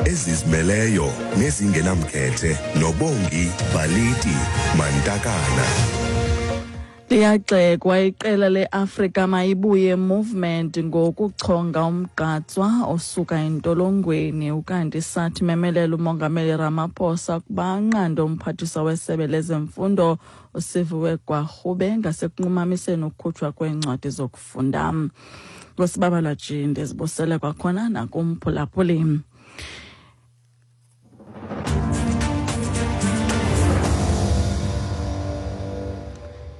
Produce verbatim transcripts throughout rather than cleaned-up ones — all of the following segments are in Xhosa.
Ezizimeleyo nezingenamkhethe noBongi Baliti Mantakana. Liyagxekwa iqela leAfrika Mayibuye Movement ngokuchonga umgqatswa osuka entolongweni. Ukanti sathi memelela uMongameli Ramaphosa ukuba anqande umphathiswa wesebe lezemfundo uSiviwe Gwarhube ngasekunqumamiseni ukukhutshwa kweencwadi zokufunda. Ngosibabalwa G, ndizibusele kwakhona nakumphulaphuli.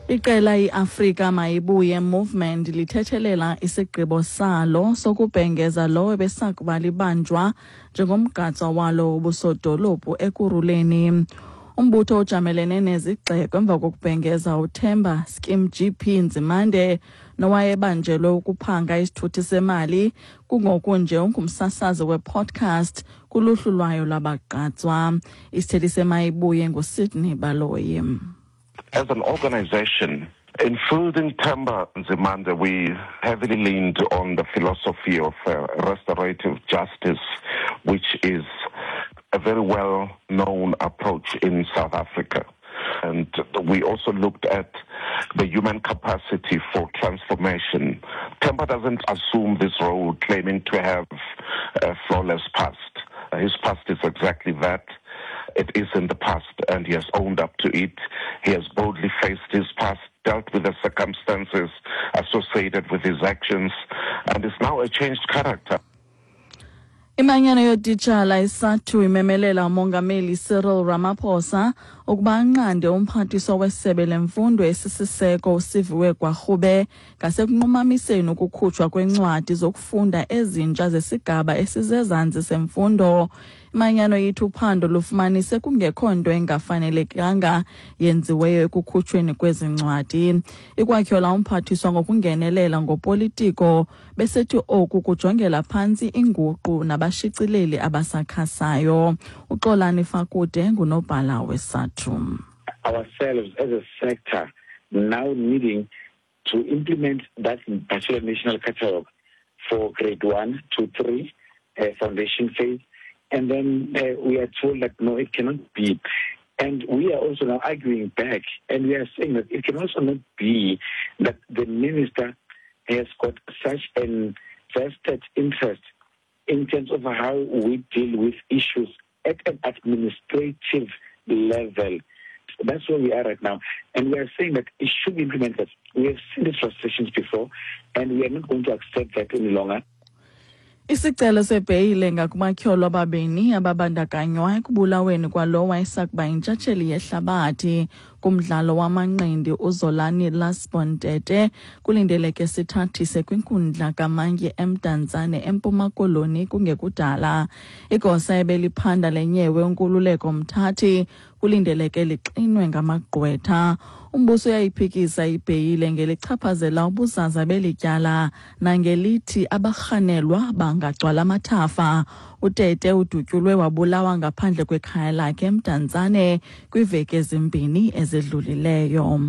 Iqela iAfrika Mayibuye Movement lithethelela isigqibo salo sokubhengeza lowo ebesakuba libanjwa njengomgqatswa walo wobusodolophu Ekurhuleni. Umbutho ojamelene nezigxeko emva kokubhengeza uThemba Skim G P Nzimande nowayebanjelwe ukuphanga isithuthi semali, kungoku nje ungumsasazi wepodcast kuluhlu lwayo lwabagqatswa. Isithethi seMayibuye nguSydney Baloyi. As an organization, in fielding Themba Nzimande, we heavily leaned on the philosophy of uh, restorative justice, which is a very well-known approach in South Africa. And we also looked at the human capacity for transformation. Themba doesn't assume this role claiming to have a flawless past. His past is exactly that. It is in the past, and he has owned up to it. He has boldly faced his past, dealt with the circumstances associated with his actions, and is now a changed character. Imanyano yootitshala iSADTU imemelela uMongameli Cyril Ramaphosa ukuba anqande umphathiswa wesebe lemfundo esisiseko uSiviwe Gwarhube ngasekunqumamiseni ukukhutshwa kwencwadi zokufunda ezintsha zesigaba esisezantsi semfundo. Imanyano ithi uphando lufumanise kungekho nto engafanelekanga yenziweyo ekukhutshweni kwezi ncwadi. Ikwatyhola umphathiswa ngokungenelela ngopolitiko, besithi oku kujongela phantsi inguqu nabashicileli abasakhasayo. UXolani Fakude ngunobhala weSADTU. Ourselves as a sector now needing to implement that particular national catalogue for grade one to three, uh, foundation phase. And then uh, we are told that, no, it cannot be. And we are also now arguing back, and we are saying that it can also not be that the minister has got such an vested interest in terms of how we deal with issues at an administrative level. That's where we are right now. And we are saying that it should be implemented. We have seen these frustrations before, and we are not going to accept that any longer. Isicelo sebheyile ngakumatyholo ababini ababandakanywa ekubulaweni kwalowo wayesakuba yintshatsheli yehlabathi kumdlalo wamanqindi uZolani Lasbon Tete kulindeleke sithathise kwinkundla kaMantyi eMdantsane eMpuma Koloni kungekudala. Igosa ebeliphanda lenyewe uNkululeko Mthathi kulindeleke lixinwe ngamagqwetha. Umbuso uyayiphikisa ibheyile ngelichaphazela ubuzaza belityala nangelithi abarhanelwa bangagcwala amathafa. UTete udutyulwe wabulawa ngaphandle kwekhaya lakhe eMdantsane kwiiveki ezimbini ezidlulileyo.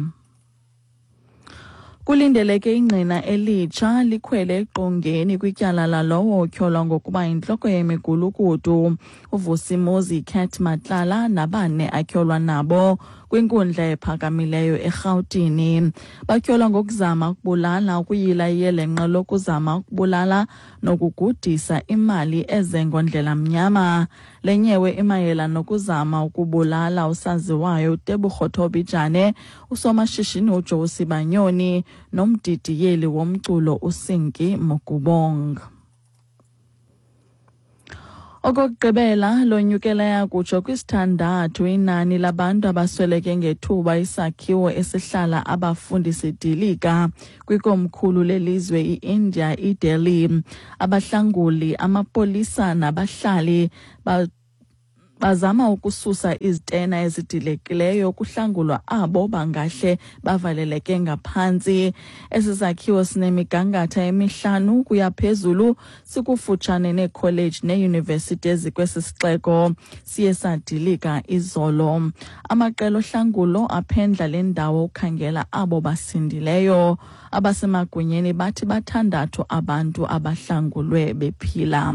Kulindeleke ingqina elitsha likhwele eqongeni kwityala lalowo otyholwa ngokuba yintloko yemigulukudu uVusimuzi Cat Matlala nabane atyholwa nabo kwinkundla ephakamileyo eRhawutini. Batyholwa ngokuzama ukubulala, ukuyila iyelenqe lokuzama ukubulala nokugudisa imali eze ngondlela mnyama. Le nyewe imayela nokuzama ukubulala usaziwayo uTebogo Thobejane, usomashishini uJoe Sibanyoni nomdidiyeli womculo uSinki Mokubong. Okokugqibela, lonyukela yakutsho kwisithandathu inani labantu abasweleke ngethuba isakhiwo esihlala abafundi sidilika kwikomkhulu lelizwe i-India iDelhi. Abahlanguli, amapolisa nabahlali ba bazama ukususa izitena ezidilekileyo kuhlangulwa abo bangahle bavaleleke ngaphantsi. Esi sakhiwo sinemigangatho emihlanu kuya phezulu, sikufutshane neekholeji neeyunivesithi ezikwesi sixeko, siye sadilika izolo. Amaqela ohlangulo aphendla le ndawo ukhangela abo basindileyo. Abasemagunyeni bathi bathandathu abantu abahlangulwe bephila.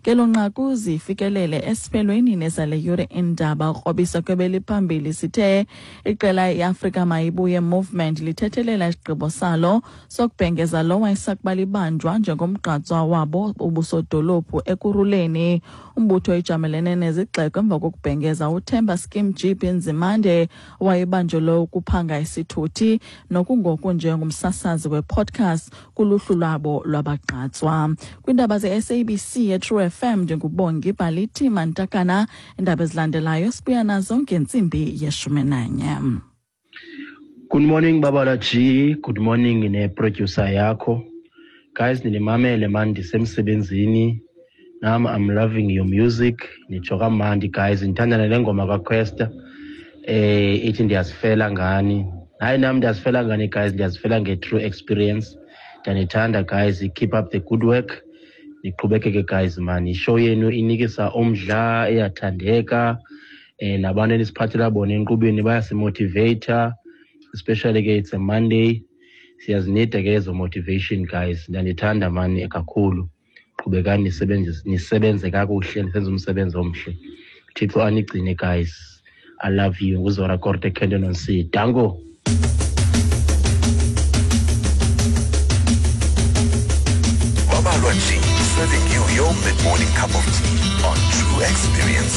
Ngelo nqaku zifikelele esiphelweni nezale yure iindaba. Krobisa kwebeliphambili sithe iqela iAfrika Mayibuye Movement lithethelela isigqibo salo sokubhengeza lo wayesakuba libanjwa njengomgqatswa wabo ubusodolophu Ekurhuleni. Umbutho ijamelene nezigxeko emva kokubhengeza uThemba Skim G B Nzimande owayebanjelwe ukuphanga isithuthi nokungoku njengomsasazi wepodcast kuluhlu lwabo lwabagqatswa. Kwiindaba ze-S A B C yeTrue F M ndinguBongi Balithi Mantakana. Iindaba ezilandelayo sibuya nazo ngentsimbi yeshumi nanye. Good morning Babala G, good morning ne-producer yakho. Guys, ninimamele man, ndisemsebenzini. Nam I'm loving your music. Nitsho kamandi guys, ndithanda nale ngoma kaQuesta. Eh ithi ndiyazifela ngani. Hayi nam ndiyazifela ngani guys, ndiyazifela nge-true experience. Ndiyanithanda guys, keep up the good work. Niqhubekeke guys man, ishow yenu inikisa umdla, iyathandeka. Eh nabantu enisiphathela bona enkqubeni bayasimotivate, especially ke it's a Monday. Siyazinida ke ezo motivation guys. Ndiyanithanda man kakhulu. Qhubekani nisebenze, nisebenze kakuhle, nisenze umsebenzi omhle. Thixo anigcine guys. I love you. Nguzora Korte Kendon on C. Dango. Babalwa G, serving you your mid-morning cup of tea on True Experience.